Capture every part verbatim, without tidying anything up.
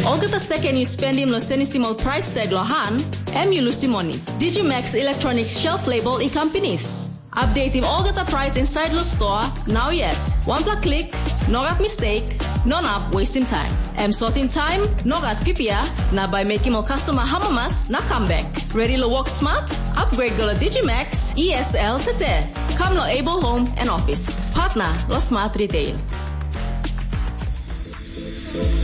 Olgeta seken yu spendim long senisim ol prais tag long han, em yu lusim moni. Digimax Electronics shelf label i kam pinis. Updatim olgeta prais inside lo stoa, nau yet. Wanpela klik, nogat mistake, no nap wastim taim. Em sotim taim, nogat pipia, na bai mekim ol customer hamamas na comeback. Ready lo work smart? Upgrade go lo Digimax E S L tete. Come lo Able Home and Office. Partner lo Smart Retail.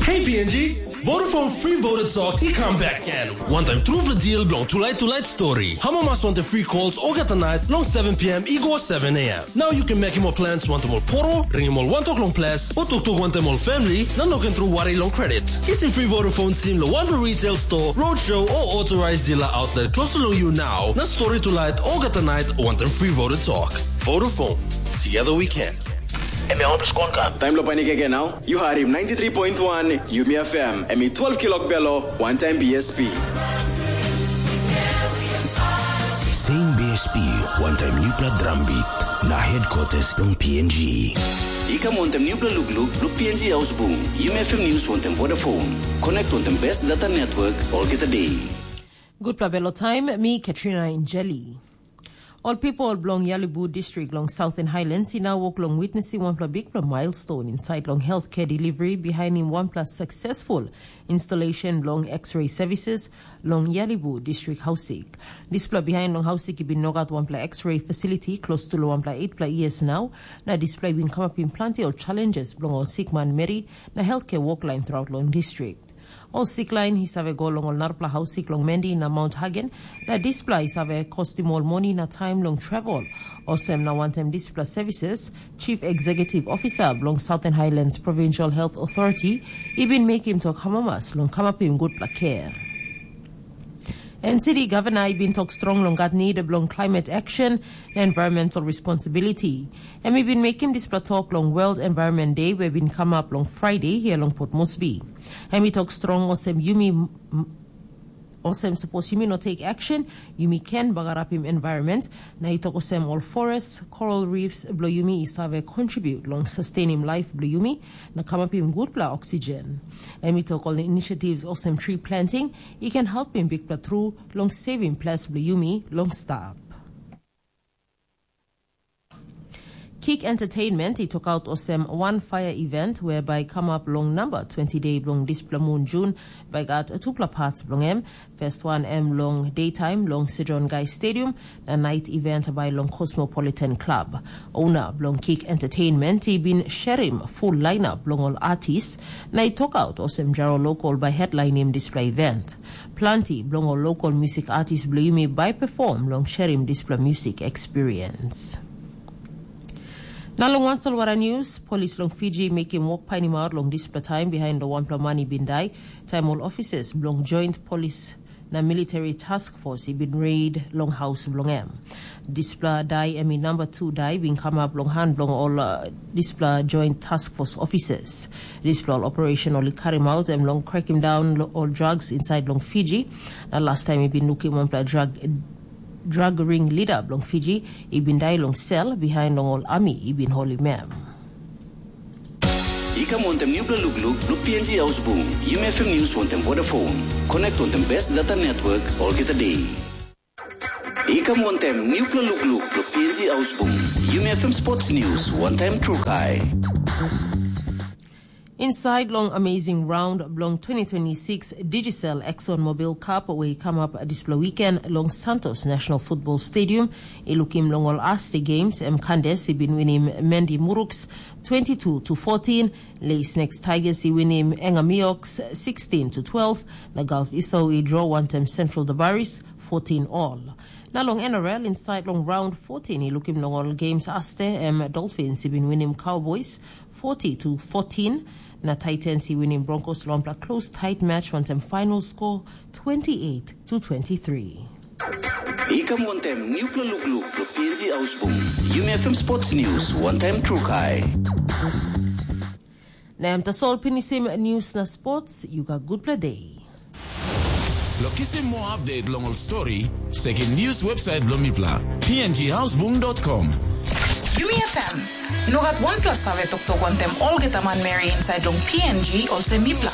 Hey P N G, Vodafone Free Voter Talk i come back again. Wantaim trupela deal bilong tulait tulait story. Hamamas wantaim free calls olgeta night long seven p.m. i go seven a.m. Now you can make more plans wantaim ol poro, ringim ol wantok long ples, o toktok wantaim ol family, na no ken tru wari long credit. Kisim free Vodafone sim lo wanpela retail store, roadshow o authorized dealer outlet close to you now. Na story tulait olgeta night wantaim free Voter Talk. Vodafone. Together we can. Em ya oto skon kan. Taim lo panik ege nau, yu harim ninety three point one Yumi F M, em i twelve kilok belo, one time B S P. Same B S P, one time nupla drum beat, na headquarters long P N G. I kam wantaim nupla lukluk, lo P N G Ausbung, Yumi F M News wantaim Vodafone. Connect wantaim best data network, olgeta day. Gutpela belo taim, mi Katrina Injeli. Ol pipel bilong Yalibu distrik long Southern Highlands i nau wok long witnesim wanpela bikpela milestone insait long healthcare delivery bihainim wanpela successful installation bilong X-ray services long Yalibu distrik hausik. Dispela bihain long hausik i bin nogat wanpela X-ray facility close to long wanpela eight years nau, na dispela i bin kamapim planti ol challenges bilong ol sikman meri na healthcare woklain throughout long distrik. Ol siklain i save go long ol narapela hausik long Mendi na Mount Hagen, na dispela i save kostim ol moni na taim long travel. Olsem na wantaim dispela services, Chief Executive Officer bilong Southern Highlands Provincial Health Authority i bin mekim tok amamas long kamapim gutpela kea. En city governor i bin tok strong long gat nid bilong climate action na environmental responsibility. Em i bin mekim dispela tok long World Environment Day we bin kamap long Friday hia long Port Moresby. Em i tok strong olsem yumi olsem sapos yumi no take action, yumi ken bagarapim environment, na i tok olsem ol forest, coral reefs bilong yumi i save contribute long sustainim life bilong yumi na kamapim gutpela oxygen. Em i tok ol initiatives olsem tree planting i ken helpim bikpela tru long saving ples bilong yumi long stap. Kick Entertainment i tokaut olsem wan fire event whereby come up long number twenty day bilong dispela mun Jun, by gat tupela parts bilong em. First one em long daytime long Sidron Guy Stadium, na night event by long Cosmopolitan Club. Owner bilong Kick Entertainment i bin sharim full lineup bilong ol artist, na i tokaut olsem Jaro Local by headlinim dispela event. Planti bilong ol local music artist bilong yumi bai perform long sharim dispela music experience. Na long wan solwara news, polis long Fiji mekim wok painimaut long dispela taim behind long wanpela man i bin dai, taim ol officers bilong Joint Police na Military Task Force i bin raid long haus bilong em. Dispela dai em i namba tu dai bin kamap long han bilong ol uh, dispela Joint Task Force officers. Dispela ol operation ol i karim aut em long cracking down ol drugs inside long Fiji. Na last time i bin lukim wanpela drug drug ring leader bilong Fiji i bin dai long sel behind long ol ami i bin holim em. I kam wantaim nupela lukluk bilong P N G Ausbung, Yumi F M News wantaim Vodafone. Connect wantaim best data network olgeta day. I kam wantaim nupela lukluk bilong P N G Ausbung, Yumi F M Sports News wantaim Trukai. Inside long amazing round bilong twenty twenty-six Digicel ExxonMobil Cup we i kamap dispela weekend long Santos National Football Stadium, i lukim long ol aste games em Kandes i bin winim Mendi Muruks twenty-two to fourteen, Lei Snakes Tigers i winim Engamioks sixteen to twelve, na Gulf Iso i draw wantaim Central Dabaris fourteen all. Na long N R L inside long round fourteen i lukim long ol games aste em Dolphins i bin winim Cowboys forty to fourteen, na Titans i winim Broncos long wanpela close tight match wantaim final score twenty-eight to twenty-three. I kam wantaim nupela lukluk lo P N G Ausbung. Yumi F M Sports News wantaim Trukai. Na em tasol pinisim news na sports, you got good play day. Lo kisim more update long ol story, sekim news website bilong mipela, P N G Ausbung dot com. Yumi F M. Nogat wanpela save toktok wantaim olgeta manmeri inside long P N G olsem mipela.